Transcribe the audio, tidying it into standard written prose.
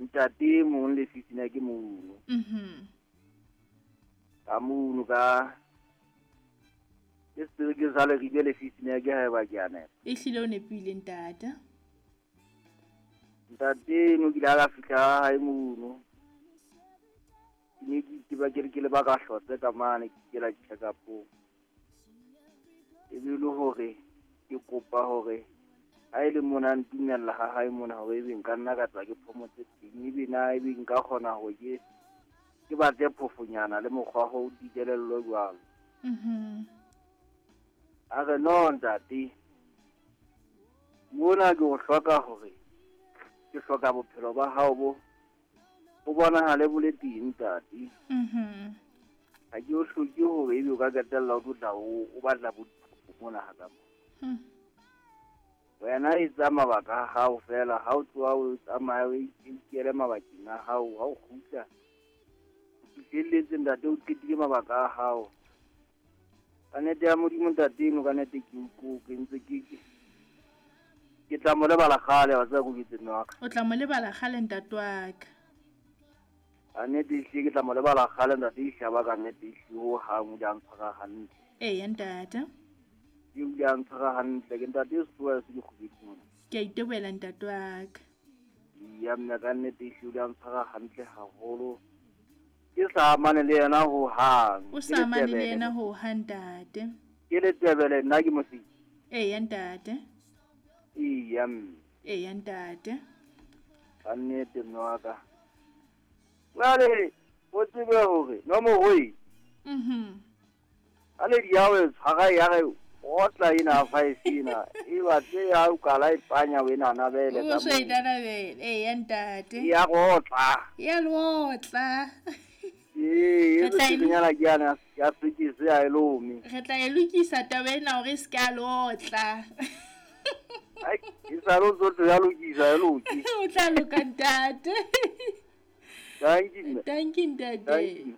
Ntate mong le sisina ke mono. Ka mono ka ke setereke sa Leribe le sisina ke haeba ke a nepa. Ehlile o nepile ntate. Ntate no kile a ka fihla ha hae mono. Ke ne ke itseba ke re ke leba ka hlotse ka mane ke ikela check-up-ong. E be le hore ke kopa hore ha e le mona a ntumella ha hae mona hore ebe nka nna ka tla ke phomotse teng, ebe na ebe nka kgona hore ke batle phofonyana le mokgwa ho dikelello jwalo. A re no ntate, mona ke o hloka hore ke hloka bophelo ba hao bo bo bonahale bo le teng ntate. Ha ke o hloke hore ebe o ka qetella o tlo tla o batla bo mona ha ka mo. Wena etsa mabaka a hao fela, ha o tloha o tsamaya o ikele mabakeng a hao, ha o kgutla o fihlelletse ntate, o qetile mabaka a hao. Ka nnete ya Modimo ntate eno, ka nnete ke utlwe ke ntse ke tla mo lebala kgale, wa tseba ko ke mme wa ka. O tla mo lebala kgale ntate wa ka. Ka nnete ehlile ke tla mo lebala kgale ntate, ehlaba ka nnete ehlile ho hang o ile a ntshwara hantle. Eya ntate. Ke o ile a ntshwara hantle, ke ntate e sefuba se dikgubedi mona. Ke a itebohela ntate wa ka. Ya mme ka nnete ehlile o ile a ntshwara hantle haholo. Ke sa amane le yena ho hang. O sa amane le yena ho hang ntate. Ke letebele nna ke mosiki. Eya ntate. Eya mme. Eya ntate. Ka nnete mme wa ka. Jwale o tsebe hore nomoro e. Ha le di ya o e tshwara ya re otla ena 5 ena e batle ya o kala e panya o ena nabele ka. O so e nabele. Eya ntate. Ya rotla. Ya lotla. Ee, e nyana ke yana ya sekese ya elome. Re tla e lokisa taba ena hore e se ka lotla. Ai, e sa lo tlo ya lokisa e loki. O tla loka ntate. Thank you. Thank you ntate.